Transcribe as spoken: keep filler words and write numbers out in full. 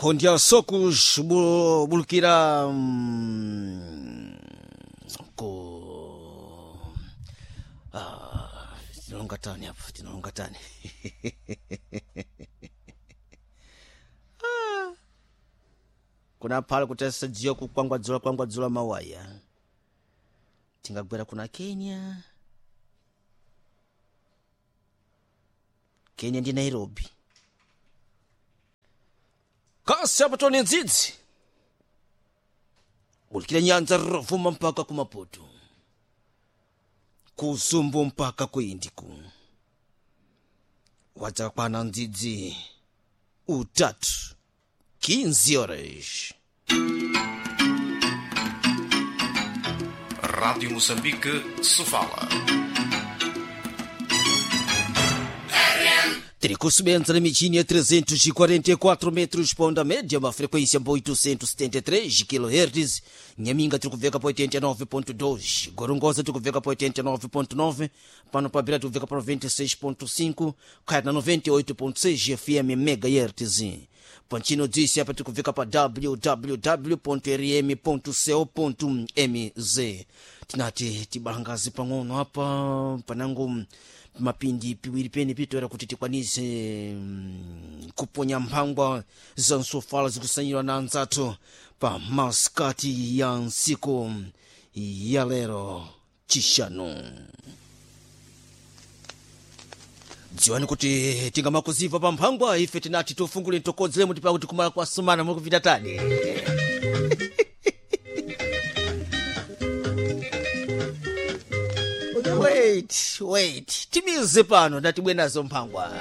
Nkhonde ya Socos bu- bulukira mm, ku ah, tinalonga tani apa, tinalonga tani. Kuna phala kuti asadziwa kukwangwadzula kwangwadzula mawaya, tingagwera kuna Kenya. Kenya ndi Nairobi kasi apo tone ndzidzi bulikira nyanza rovuma mpaka ku Maputo, ku Zumbu mpaka ku Indiku, wadzakwana ndzidzi utatu quinze horas. Rádio Moçambique, Sofala. Tiri kusubenza na michini ya trezentos e quarenta e quatro metros pa onda média, uma frequência pa oitocentos e setenta e três kilohertz. Nhaminga tiri kubveka pa oitenta e nove ponto dois, Gorongosa tiri kubveka pa oitenta e nove ponto nove, pano pa Beira tiri kubveka pa noventa e seis ponto cinco, Caia na noventa e oito ponto seis F M megahertz. Pantino disse apa tiri kubveka pa w w w ponto r m ponto co ponto m z. Tinati tibalangazi pang'ono apa panango mapindi piwiri pene pitoera kuti tikwanise mm, kuponya mphangwa za nsofala zikusanyidwa na anzathu pa masikati ya ntsiku ya lero chishanu. Dziwani kuti tingamakuziva pa mphangwa ife tinati tofungule ntokodzeremo tipakuti kumala kwa sumana mukupita tani. Wait, wait, timize pano ndatibwenazo mphangwa.